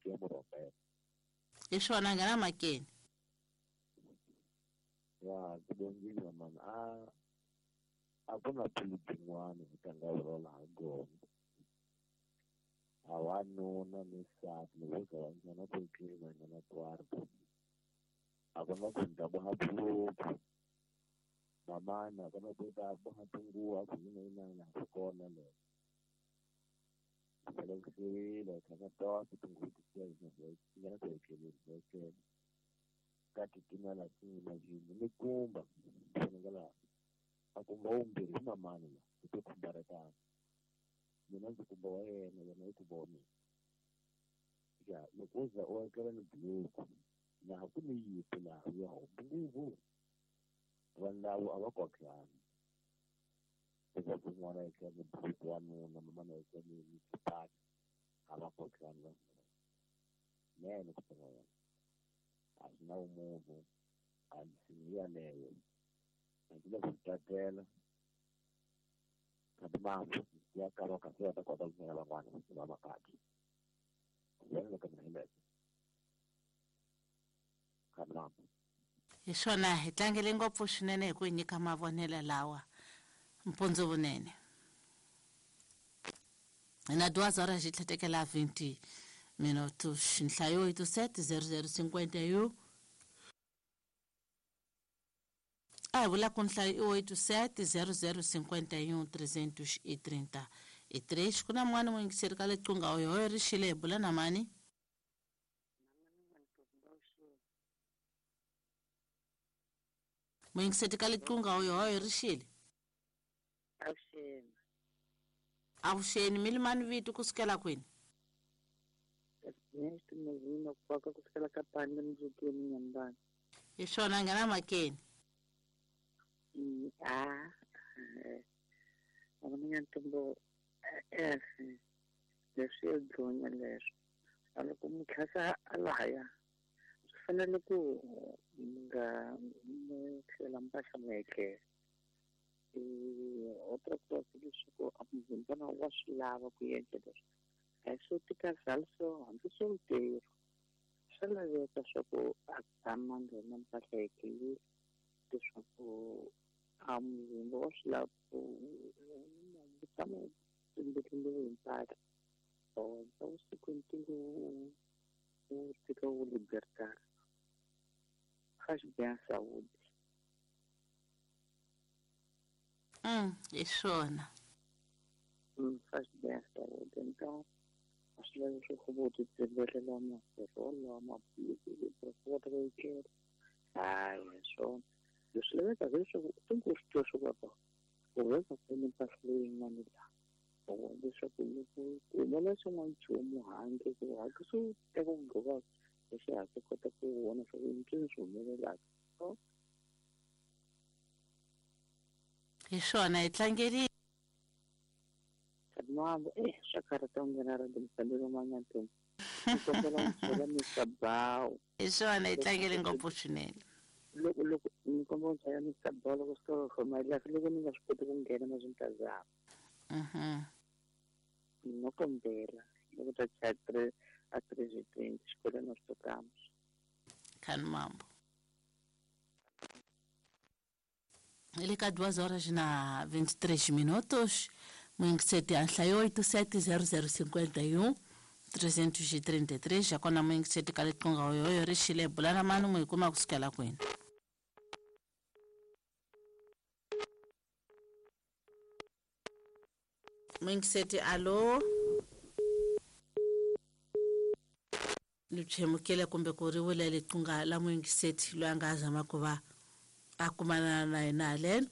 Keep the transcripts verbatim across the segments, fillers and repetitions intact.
ya murhomela hi swona nghena makeni ya ku bongiwa mani a a ku na phulu byin'wana hi tlanga vurola ha gona a wanuna ni nsati loko wo za va nghena kwekeni va nghena kwarto a ku na ku ndla boha buruku mamana a ku na ku ta boha tinguva ku yina yinana swi kona leswo selekisiwile tlhaka tonke tinguva tisiya nghena kwekeni kwekeni ka titimela timajini ni kumba vonakala a kumba wumbirhi hi mamani la hi to khumbaretana mina ndzi kumba wa yena yena i kumba wa mina ya loko wo za u akela ni buruku laha ku ni yipi laha ya hombi nguvu vanhu lavo a va kotlani leswaku n'wana a etlela ni buruku wanuna mamana a etlela ni ni xipaki a va kotlani vanhu nene ku tlanga yena a swi na vumunhu a nsimu yaleyo a ndzi le ku tatela kambe mambo ya kava kahle va ta kota ku nghena van'wana va makati yena loko mina hileswo kambe mambo hi swona hi tlangele ngopfu swinene hi ku hi nyika mavonelo lawa mpundzu vunene na duas horas xi tlhetekela vinte minutos nhlayo oito sete zero zero cinquenta e um a hi vula ku nhlayo i oito sete zero zero cinquenta e um trezentos e trinta e três ku na mun'wana muyingiseri ka liqunga oyo ri xile hi bula na mani muyingiseri ka liqunga oyo ri xile avuxeni avuxeni mi limani vito ku sukela kwini Nextimezini ku paka ku sukela ka pande muzukeni nyambani hi swona nghena makeni a a ntombo eh leswi yo dlonya leswo a loko mutlhasa a laya swi fanele ku mi nga mu tlhela mpahla mu etlela outra coisa leswaku a muzimbana wa swi lava ku endla leswi a hi swo tikazala swo hambi solteiro swa laveka swa ku a tshama nghena mpahla etlelile leswaku a muzimba wa swi lava ku wu tshama wu tlimbetlimiwe hi mpahla or vusiku ntingo wu tika wu libertar faz bem à saúde. Hum, hi swona Hum, faz bem à saúde. Então, acho leswaku vo ti tsembelela maferolo maphilisi leswaku hayi hi swona leswi lavekaka leswaku u tingo swi tiva swa ku u veka kwini mpahla leyin'wana laha leswaku loko ku humelela xin'wana nchumu handle ku hatlisa u teka ku gqoka hi xihatla u kota ku vona swa ku i ncini swi humelelaka hi swona hi tlangeli mambo eh swa karhata ku nghena radio mufambelo manyantombi ni kombela ku byela Mister Bawu hi swona hi tlangele ngopfu swinene loko loko ni kombela ku byela Mister Bawu loko swi to for my life loko ni nga swi koti ku nghena na swintazama mhm no kombela loko ta chaya three a three twenty xikolweni nós tocamos khani mambo le ka duas horas na vinte e três minutos muyingiseti a nhlayo oito sete zero zero cinquenta e um trezentos e trinta e três já kona muyingiseti ka liqunga oyoyo ri xile bula na mani n'wi hi kuma ku sukela kwini muyingiseti alo ni tshemukile kumbe ku ri wile liqunga la muyingiseti loyi a nga zama ku va a kumana na yena haleno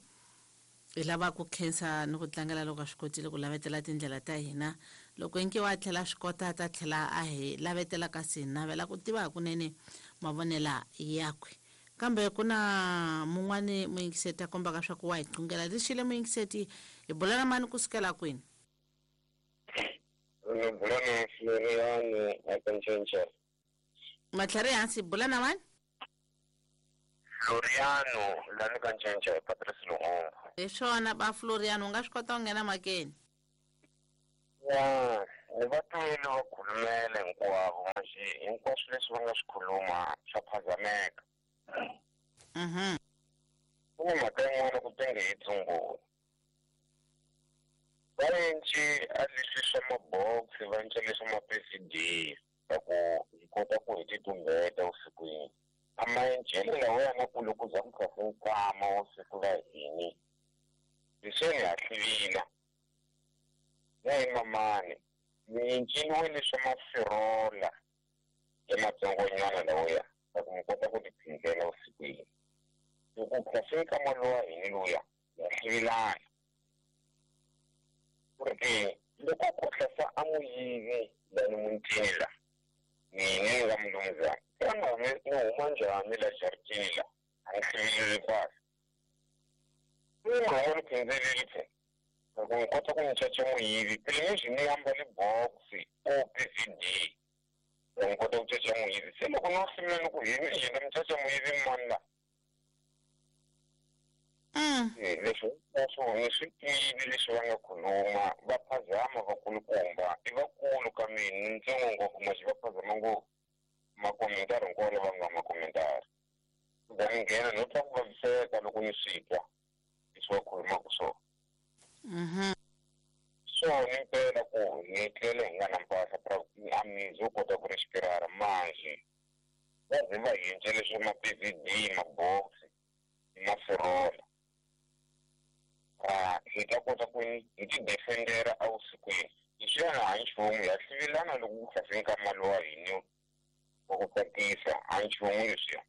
hi lava ku khensa ni ku tlangela loko a swi kotile ku lavetela tindlela ta hina loko inki wa tlhela swi kota ta tlhela a hi lavetela kasi hi navela ku tiva hakunene mavonela yakwe kambe ku na mun'wani muyingiseti a kombaka swa ku wa hi qungela lexile muyingiseti hi bula na mani ku sukela kwini bula na Floriano a ka matlhari hansi bula na mani Floriano lani ka Ncence Patrice Lumumba hi swona ba Floriano u nga swi kota ku nghena makeni ya ni va twile va khulumele hinkwavo manjhe Hinkwaswo leswi va nga swi khuluma swa phazameka. Mhm. Ku na mhaka yin'wana ku tenge hi tsumbula. Va enci a leswi swa mabox va enca leswi ma P C D va ku hi kota ku hi titumbeta vusikwini. A maencelo lawa yana ku loko za ku tlhase nkama wa siku la hini. Leswi ni hatlivila. Na hi mamani ni enceliwe leswa mafirola ya matsongonyana lawaya va ku mi kota ku tiphindzela vusikwini. Loko ku tlhase nkama lowa hini luya ya hlivilana. Porque loko ku tlhasa a muyivi lani mutini la mina ni nga mulumuzana xana ni huma njhani la jaritini la a ni hlivileli kahle ni nga ni phindzeli phe loko ni kota ku ni caca muyivi phela ni ni ambale box o P C D ni kota ku caca muyivi se loko no hlivila ni ku hi ni yena ni caca muyivi mani la leswi hinkwaswo ni swi tivi leswi va nga khuluma va phazama vakulukumba i vakulu ka mina ni ntsongo ngopfu maxi va phazama ngopfu makomentari hinkwawo lava nga makomentari va ni nghena no twa ku vaviseka loko ni swi twa leswi va khulumaka swona. So ni mpela ku hi tlele hi nga na mpahla a mizi wo kota ku respirara manjhe va ze va hi endle leswi ma P V D mabox mafirola ah hi ta kota ku hi ti defendera evusikwini leswiyana a nchumu ya hlivilana loko ku tlhase nkama lowa hini wa ku tsakisa a nchumu leswiya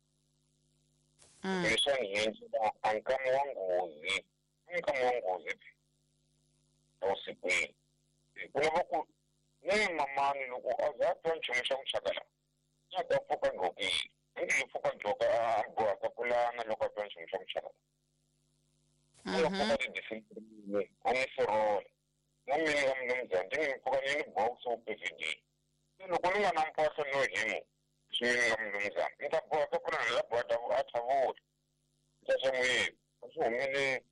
leswiya hi endlela a nkama wa nghozi nkama wa nghozi evusikwini ku lava ku ni mamani loko a za a twa nchumu xa ku chakala a ta pfuka gqokile ngi pfuka gqoka a bohaka pulana loko a twa nchumu xa ku chakala mm-hmm. Ti a ni firola na mina nga mulumuzana ndi ni pfuka ni ni box wo P V D loko ni nga na mpahla no himu swi mina nga mulumuzana ni ta bohaka pulana la boha a thavula ni ta xa muyivi a swi humeleli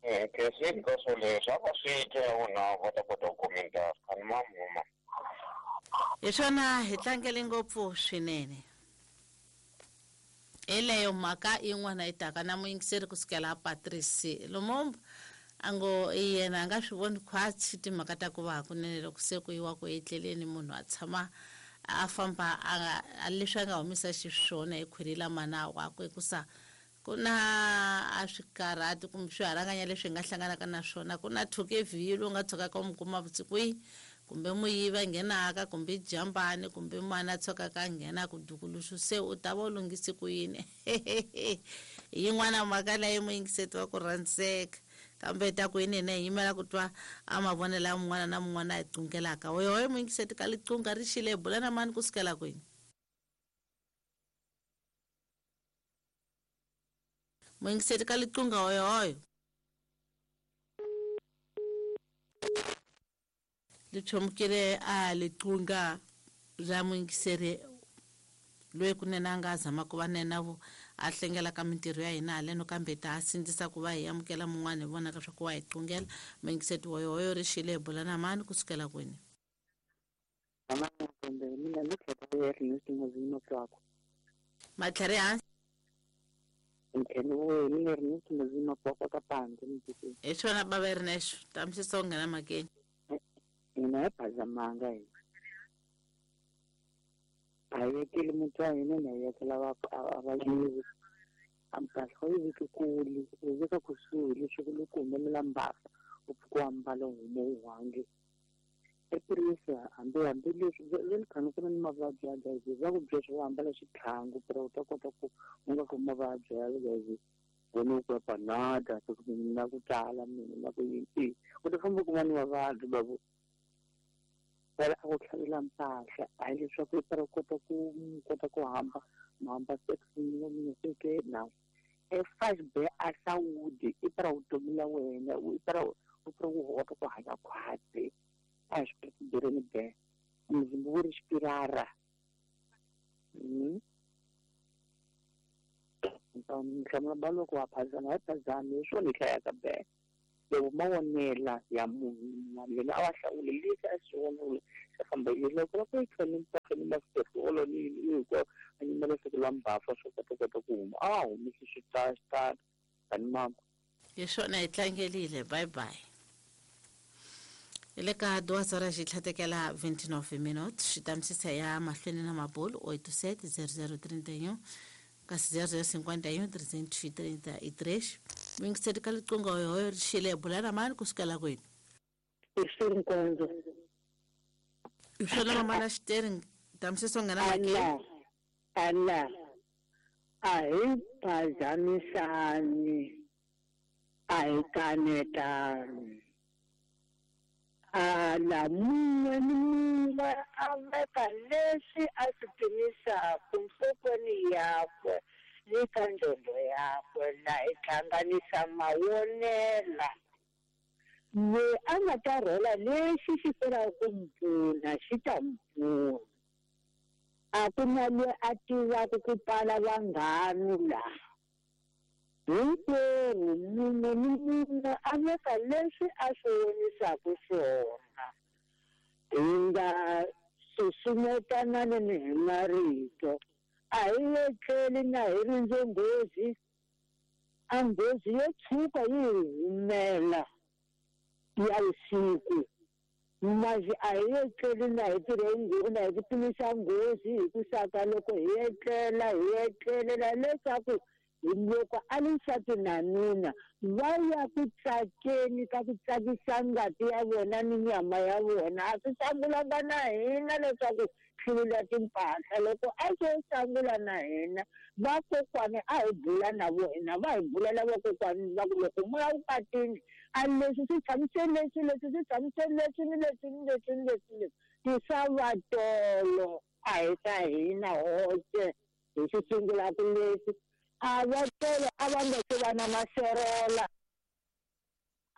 nkhensi ka swoleswo a va swi twa ya vona va ta kota ku komentara a ni mamuma. Hi swona hi tlangele ngopfu swinene. Eleyo mhaka yin'wana yi taka na muyingiseri kusukela Patrice Lumumba a ngo yena a nga swi voni khwatsi timhaka ta ku va hakunene loko se ku yiwa ku etleleni munhu a tshama a famba a leswi a nga humisa xiswona hi khwiri la mana wakwe hikusa ku na a swikarhati kumbe swiharanganya leswi hi nga hlanganaka na swona ku na thuke vhilo u nga tshukaka u mi kuma vusikwini kumbe muyivi a nghenaka kumbe jambani kumbe mana a tshukaka a nghena ku dukuluxu se u ta va u lunghise ku yini. Yin'wana mhaka leyi muyingiseti wa ku rhandzeka kambe ta ku yini hina hi yimela ku twa a mavonelo ya mun'wana na mun'wana a hi qungelaka oyoyo muyingiseti ka liqunga ri xile hi bula na mani kusukela kwini. Muyingiseti ka liqunga oyoyo lichomukile a liqunga ra muyingiseri loyi kunene a nga zama ku va nena vo a hlengela ka mintirho ya hina haleno kambe ta a sindzisa ku va hi amukela mun'wana hi vonaka swa ku wa hi qungela. Muyingiseti woyoyo ri xile hi bula na mani kusukela kwini. Matlhari hansi hi swona bava Ernesto tamisisa u nghena makeni. Hina hi phazamanga hina a hi vekeli muti wa hina na hi vekela vayivi a mpahla u yi veki kule u yi veka kusuhi leswaku loko humelela mbasa u pfuka u ambala u huma u hange epurisa hambi hambi leswi ve ni khani ku na ni mavabyi ya H I V va ku byela swa ku ambala xitlhangu pera u ta kota ku u nga khomi mavabyi ya H I V wena u ku ya panada na ku tala mina na ku yini u ta famba u kuma ni mavabyi babu vela a ku tlhavela mpahla a hi leswaku i pera u kota ku kota ku hamba mahamba seke na e five be a sawudi i pera vutomi la wena i pera u pera ku kota ku hanya khwatsi a hi swi bereni be muzimba wu ri xipirara nhlamula ba loko wa phazama hi phazami hi swona hi hlayaka be. Loko mavonela ya munhu un'wana yena a va hlawule leswi a swi vonile xa famba loko va ku yi tlhela mpahla ni maferolo ni yini hinkwayo a nyimela siku la mbafa swo kota kota ku huma a humesi xitalo tani mama. Hi swona hi tlangelile, bye bye. Hi le ka duas horas xi tlhatekela vinte e nove minutos, xi tamisisa ya mahlweni na mabulu oito sete zero zero trinta e um kasi zero zero cinquenta e um trezentos e trinta e três. Mingiseti ka liqingho hoyo ri xile, bula na mani kusukela kwini? I swi nkonzo. Hi swona mamana xiteri, tamisisa u nghena makeni. Ala ala, a hi phazamisani, a hi kanetani. Ala, mun'we ni mun'we a veka leswi a swi pimisaka nhlokweni yakwe ni ka nqondo yakwe, la hi hlanganisa mavonela. Loyi a nga ta rhola lexi xi tirhaka ku n'wi pfuna xi ta n'wi pfuna. A ku na loyi a tivaka ku pfala vanghana laha. Hinkwerhu munhu ni munhu a veka leswi a swi vonisaka swona. Hi nga susumetanani hi marito. A hi etleli na hi rindze nghozi, a nghozi yo tshuka yi hi humela ya vusiku. Masi a hi etleli na hi tirhe na hi ku pimisa nghozi hi ku saka loko hi etlela hi etlelela leswaku loko a li nsati na nuna va ya ku tsakeni ka ku tsakisa ngati ya vona ni nyama ya vona. A swi sangulanga na hina leswaku hluvula timpahla. Loko a swo sangula na hina, vakokwani a hi bula na vona, va hi bulela vakokwani va ku loko moya wu katini a leswi swi tshamise leswi, leswi swi tshamise leswi ni leswi ni leswi ni leswi ni leswi tisa vatolo a hi ta hina hoxe hi swi sungulaka leswi. A va tolo a va nga se va na maserola,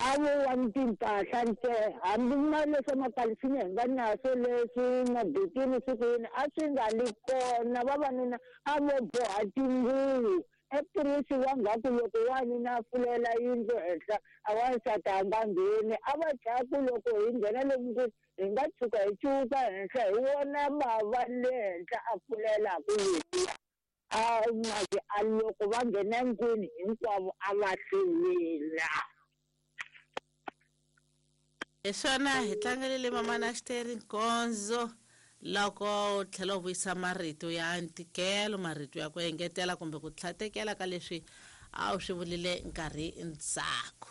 a vo wa ni timpahla ntsena, hambi ma leswa makalisinya hi nga naso leswi mabikini siku yini a swi nga li kona. Vavanuna a vo boha tinguvu epurisi wa ngaku loko wanuna a fulela yindlu henhla a wansati a nga ngheni. A va chaya ku loko hi nghena lomu ku hi nga tshuka hi cuka henhla hi vona bava le henhla a fulelaku leswiya. A masi a loko va nghena ndlwini hinkwavo a va hluvula. Hi swona hi tlangelile mamana xiteri nkonzo. Loko u tlhela u vuyisa marito ya ntikelo, marito ya ku engetela kumbe ku tlhatekela ka leswi a wu swi vulile nkarhi ndzhaku.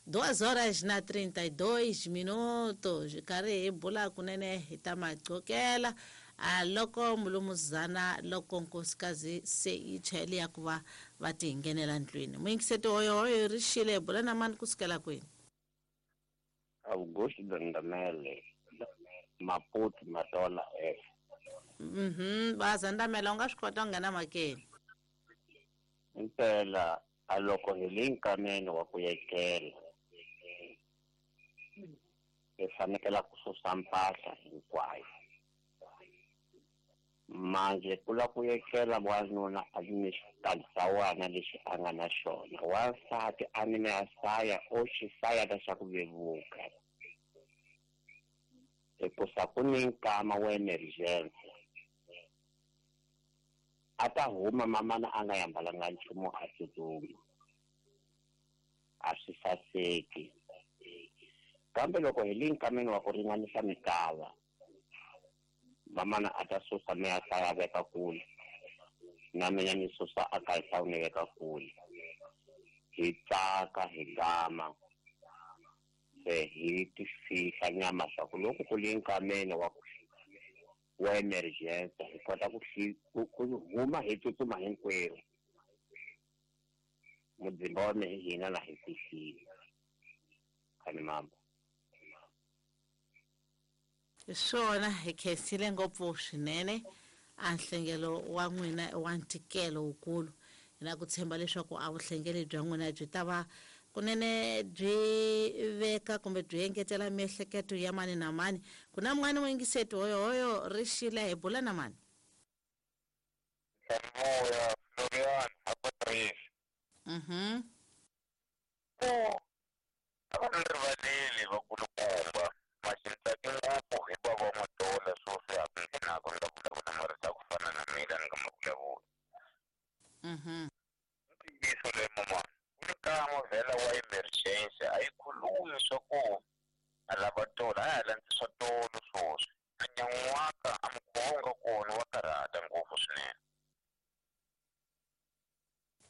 Duas horas na trinta e dois minutos, hi karhi hi bula kunene hi ta maqokela. A loko mulumuzana loko nkosikazi se yi chayele ya ku va va ti nghenela ndlwini, muyingiseti hoyohoyo ri xile, hi bula na mani kusukela kwini? Augusto Dandamele, Maputo, Matola F. Mhm, bazandamela u nga swi kota ku nghena makeni. Impela a loko hi le nkameni wa ku etlela hi fanekela ku susa mpahla hinkwayo. Manje ku la ku etlela wanuna a ni xitalisawana lexi a nga na xona, wansati a ni na saya o xisaya xa ku vevuka, hikusa ku ni nkama wa emergency a ta huma mamana a nga yambalanga nchumu a tsutsuma, a swi saseki. Kambe loko hi le nkameni wa ku ringanisa mikava, mamana a ta susa me a hlaya veka kule na mina ni susa a ka hlawu ni veka kule, hi tsaka hi gama se hi ti fihla nyama swa ku loko ku le nkameni wa ku wa emergency hi kota ku ku huma hi tsutsuma hinkwerhu. Mudzimba wa mehe hina la hi fihlile khani mamba. Hi swona hi khensile ngopfu swinene a nhlengelo wa n'wina wa ntikelo wukulu. Hi na ku tshemba leswaku a vuhlengeli bya n'wina byi ta va kunene byi veka kumbe byi engetela miehleketo ya mani na mani. Ku na mun'wani muyingiseti hoyohoyo ri xile, hi bula na mani? Moya Florian Hapatrice. Mhm. Oh, A va ni rivaleli vakulukumba maxintsaki ngopfu hi bava wa matola swoswi a ku nghenaka ni nga vulavula marito ya ku fana na mina ni nga ma vulavuli. Mhm. Ntiyiso leyi mamana ku ni nkama vhela wa emergency a yi khulumi swa ku a lava tolo a ya landzi swa tolo swoswi a nyan'waka a mukhuva wu nga kona wa karhata ngopfu swinene.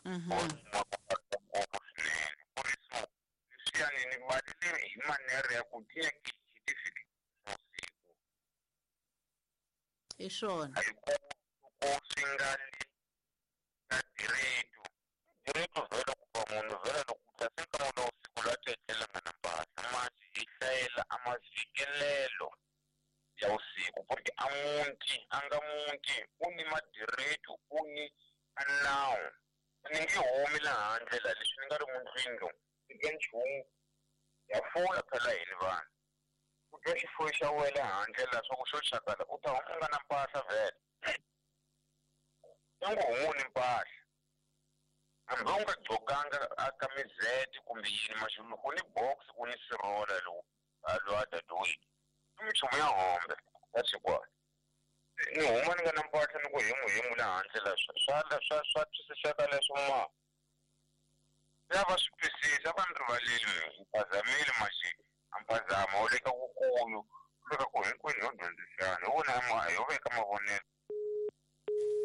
Mhm. Ngopfu swinene ku ri so leswiyani ni balele hi manere ya ku tinyaki hi ti fikisa usiku. Hi swona. A yi ku ku swi nga li ka direto direto vhela ku va munhu vhela loko ku tlase nkama lowu siku la tletlela nga na mpahla masi hi hlayela a mavikelelo ya usiku porque a munti a nga munti u ni madireto u ni a nawu ni nge humi laha handle la leswi ni nga ri mundlwini lomu eka nchumu ya fula phela hini vanhu ku twa xifuwo xa wena handle la swa ku xo xakala u ta huma u nga na mpahla vhele i ngo humu ni mpahla hambi u nga gqokanga a kamizete kumbe yini maxulu ku ni box ku ni sirola lowu a lowu a dadoyini i minchumu ya hombe ya xikwana ni huma ni nga na mpahla ni ku hemu hemu la handle la swa swa swa swa twisiseka leswo ma ya va swi twisisa va ni rivaleli mi phazamile maxi a mphazamo wu le ka kukulu wu le ka ku hinkwenu ho dyondzisana hi wona ma ho veka mavonelo.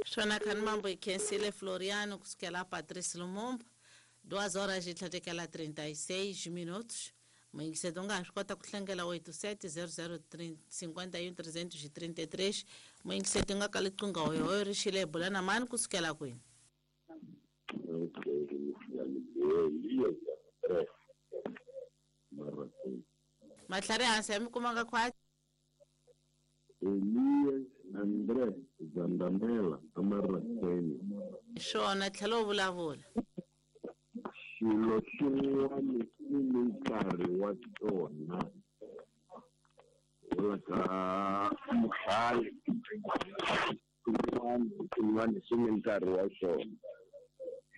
Swona khani mambo hi khensile Floriano kusukela Patrice Lumumba duas horas e tlhatekela trinta e seis minutos. Muyingiseti u nga ha swi kota ku hlangela oito sete zero zero cinquenta e um trezentos e trinta e três. Muyingiseti u nga ka liqingho hoyohoyo ri xile hi bula na mani kusukela kwini? Matlhari hansi ya mi kumanga khwati. Elias André Zandamela Amarakeni. Swona tlhela u vulavula. Xilo xin'wana xi ni nkarhi wa tona wala ka muhlali xin'wana xin'wana xi ni nkarhi wa xona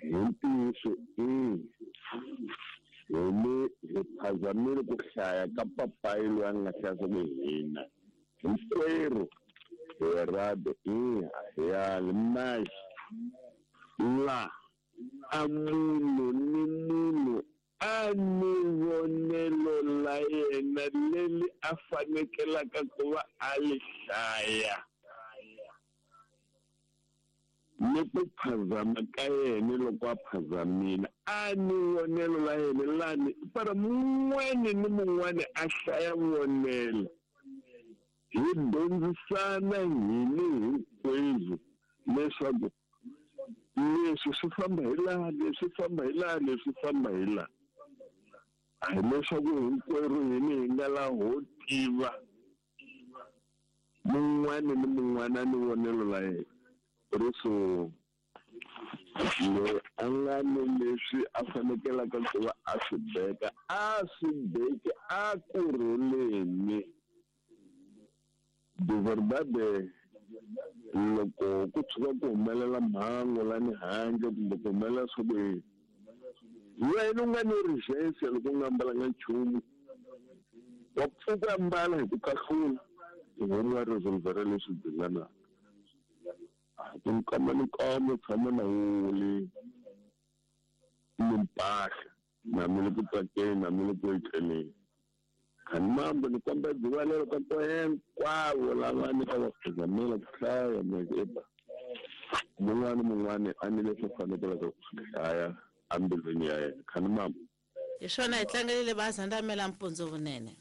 hi ntiyiso i hi ni hi phazamile ku hlaya ka papayi loyi a nga hlaya swa ku hina hinkwerhu hi rado i ya mas la a munhu ni munhu a ni vonelo la yena leri a fanekelaka ku va a li hlaya ni ku phazama ka yena loko a phazamile a ni vonelo la yena lani para mun'wana ni mun'wana a hlaya vonelo hi dyondzisana hini hinkwenu leswaku leswi swi famba hi laha leswi famba hi laha leswi famba hi laha a hi leswaku hinkwerhu hini hi nga laha ho tiva mun'wana ni mun'wana ni vonelo la yena ri so loyi a nga ni leswi a fanekelaka ku va a swi beka a swi beki a kurhuleni de verdade loko ku tshuka ku humelela mhangu lani handle kumbe ku humelela swa ku yini wena u nga ni urgência loko u nga ambalanga nchumu wa pfuka ambala hi ku kahlula hi huma resolvera leswi dinganaka ku nkama ni nkama tshama na wuli ni mpahla na mi le ku tsakeni na mi le ku etleleni khani mambo ni komba dzivalelo ka ko hinkwavo lava ni ka va phazamela ku hlaya mekepa mun'wana mun'wana a ni leswi fanekelaka ku swi hlaya embilwini ya yena khani mambo. Hi swona hi tlangelile bazandamela mpundzu vunene.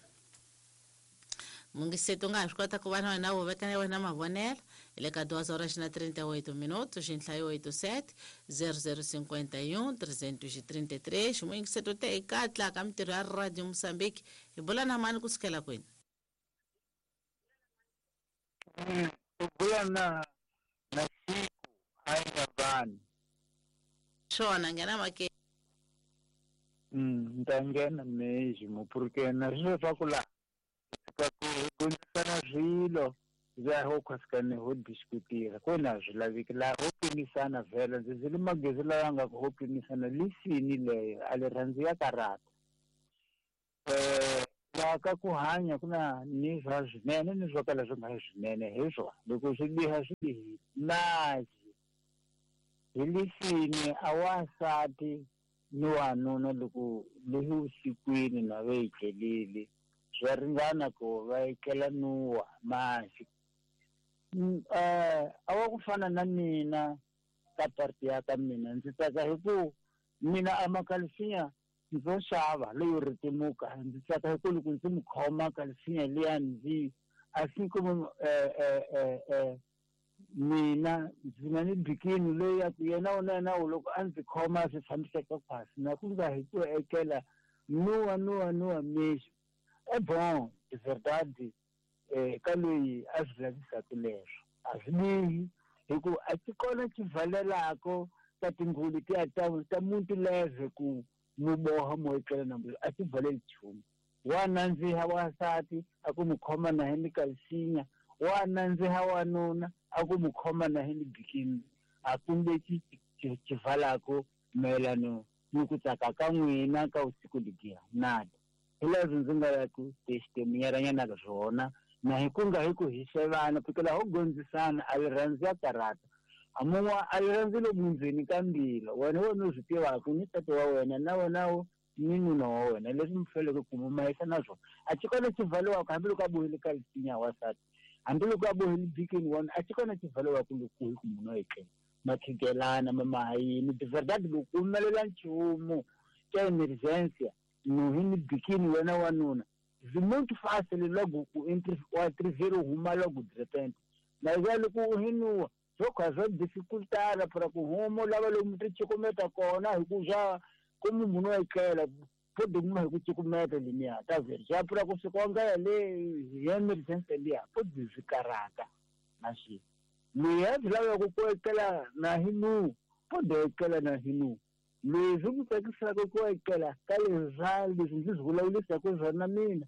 Mungiseti u nga ha swi kota ku va na wena wu veka na wena mavonelo hi le ka duas horas na trinta e oito minutos nhlayo oito sete zero zero cinquenta e um trezentos e trinta e três. Muyingiseti u te hi katla ka mintirho ya Radio Moçambique hi bula na mani kusukela kwini? U bula na na siku hayi na vanhu. Swona nghena make. Mm, ni ta nghena mesmo porque na swilo swa ku laha ka ku dyondzisana swilo za ho khwasikane ho diskutira ko na swi laveki laha ho pimisana vhela ndzi zile magezi lawa nga ku ho pimisana lisini leyo a li rhandzi ya karata. Eh la ka ku hanya ku na ni swa swinene ni swo kala swi nga ri swinene hi swona loko swi biha swi bihile masi hi lexini a wansati ni wanuna loko lehi vusikwini na va etlelile swa ringana ku va etlela nuwa masi eh a wa ku fana na mina ka parti ya ka mina ndzi tsaka hi ku mina a makalisinya ndzo xava leyo ritimuka ndzi tsaka hi ku loko ndzi mu khoma kalisinya liya ndzi assim como eh eh eh eh mina ndzi na ni bikini leyi ya ku yena u na yena u loko a ndzi khoma swi tshamiseka khwasi na ku nga hi ku etlela nuwa nuwa nuwa mexo é bom de verdade eh ka loyi a swi lavisaka leswo a swi bihi hi ku a ti kona xivalelako ka tingulu tiya ta ta muntu leve ku mu boha mo etlela na mbulo a ti valeli nchumu wa nandziha wansati a ku mu khoma na hi ni kalisinya wa nandziha wanuna a ku mu khoma na hi ni bikini a kumbe xi xivalako mayelano ni ku tsaka ka n'wina ka vusiku legiya nada hi leswi ndzi nga ya ku tixitemunyeranyana ka swona na hi ku nga hi ku hi xevana fikela ho gondzisana a rirhandzu ya karata a mun'wa a rirhandzu lomu ndzeni ka mbilo wena wena u swi tivaka ni tata wa wena na wena wo ni nuna wa wena leswi mi faneleke ku mu mahisa na swona a xi kona xivaliwaka hambiloko a bohile ka lisinya wansati hambiloko a bohile bikini wona a xi kona xivaliwaka loko hi ku munhu a etlela makhigelana mamahayini de verdade loko ku humelela nchumu xa emergency nuhi ni bikini wena wanuna zwi muito fácil logo ku wa trivero huma logo de repente mas é loko u hinuwa swo kha swa dificultar para ku huma lava lomu ti cukumeta kona hi ku swa como munhu a etlela pode huma hi ku cukumeta liniya ta ver swa pfula ku fika nga ya le hi emergency liya pode swi karata na swi loyi a swi lavaka ku etlela na hi nu pode etlela na hi nu leswi ku tsakisaka ku etlela ka leswa leswi ndzi swi vulavulisaka swona mina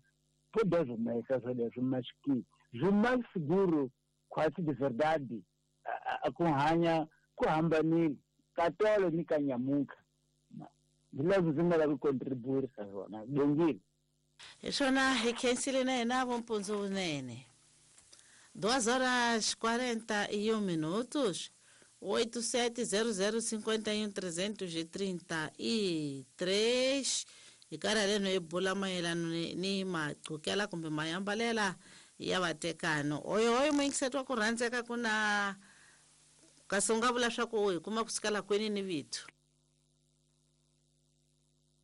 pode swi humesa swoleswo maxiki swi mais seguro quase de verdade a ku hanya ku hambanile ka tolo ni ka nyamuka hi leswi ndzi nga lavi ku contribuirisa swona bongile hi swona hi khensile na hina vompundzu vunene duas horas quarenta e um minutos oito sete zero zero cinquenta e um trezentos e trinta e três hi karhi leno hi bula mayelano ni, ni maqhukela kumbe mayambalela ya vatekano oyo oyo muyingiseti wa ku rhandzeka ku na kasi u nga vula swa ku hi kuma ku sukela kwini ni vito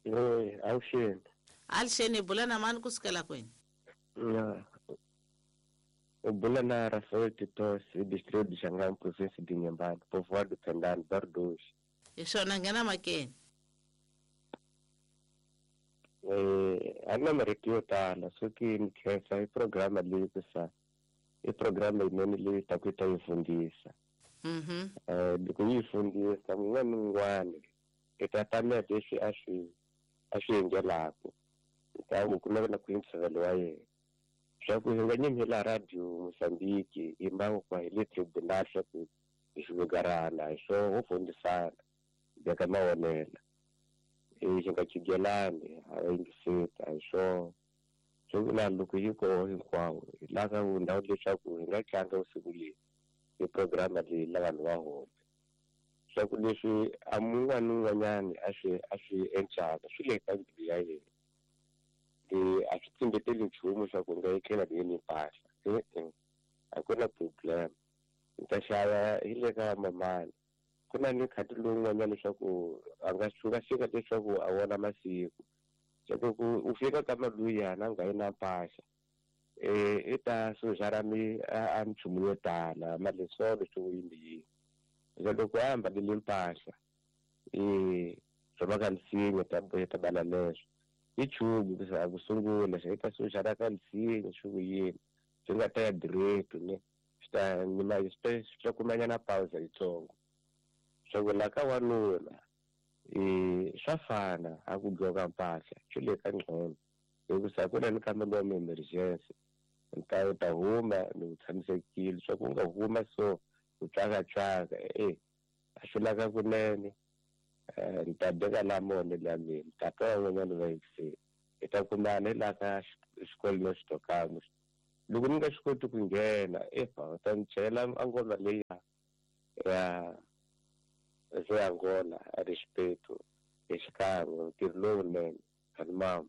Oi, avuxeni. Alixeni hi bula na mani ku sukela kwini? Ya. U bula na Rafael Titos, hi distrito de Xangani, província de Inhambane, povoado Tendane, bairro dois. Hi swona nghena makeni. Eh, a ni na marito yo tala soki ni khensa i programa leyi ku sa i programa yinene leyi taku yi ta yi fundisa. Mhm. Eh, loko yi fundisa mun'wana ni un'wana i ta tamela leswi a swi a swi endlelaka ta ku ku navela ku yingisela wa yena swa ku hi nga nyimi la radio Mozambique hi mbangu hi le tribunal swa ku hi xilugarana hi swo ho fundisana beka mavonelo hi nga chigelani a yingiseta hi swo swo vula loko yi koho hinkwawo hi lava ku ndhawu leswaku hi nga tlanga vusiku leyi hi programa leyi la vanhu va home swa ku leswi a mun'wana ni un'wanyani a swi a swi encaka swi le ka mbilu ya yena e a swi tsimbeteli nchumu swa ku nga etlela ni yini mpahla e-e a ku na problem ni ta xava hi le ka mamani ku na ni khati lowun'wanyana leswaku a nga swi nga fika leswaku a vona masiku swa ku u fika ka maluyana a nga yi na mpahla eh i ta sujara mi a minchumu yo tala malesolo swo yini yini loko a ambalile mpahla eh swa ka misinya ta ta bala leswo i chumu ku ku sungula swi ta sujara ka misinya swi yini swi nga ta ya direct ne swi ta ni ma swi ta kumanyana pausa yitsongo swa ku la ka wanuna eh swa fana a ku gqoka mpahla swi le ka ngcono hikusa ku na ni kambe wa emergency nta u ta huma ni u tshamisekile swa ku nga huma so u tsaka-tsaka e a swi laka kunene ni ta beka la mone la mina tata wa n'wanyana va yingiseli Hi ta kumana hi laha ka xikolweni xitokamo. Loko ni nga swi koti ku nghena efa u ta ni chela a ngoma leyi ya ze Angola a respeito hi xikan'we ntirho lowunene ani mama.